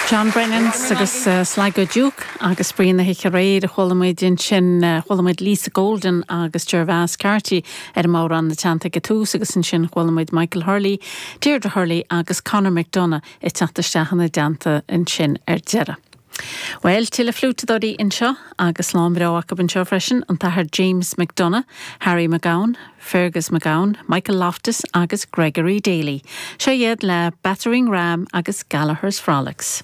John Brennans agus Sligo Duke agus spraoi na hoíche aréir a chuala muid ansin. Chuala muid Lisa Golden agus Gervase Carty ar an mbodhrán ina teannta ag an tús agus ansin chuala muid Michael Hurley, Deirdre Hurley agus Conor McDonagh ag teacht isteach ina dteannta ansin ar deireadh. Bhuel, tuilleadh fliúiteadóirí anseo agus slám breá acu anseo freisin, an tAthair James McDonagh, Harry McGowan, Fergus McGowan, Michael Loftus agus Gregory Daly. Seo iad le Battering Ram agus Gallagher's Frolics.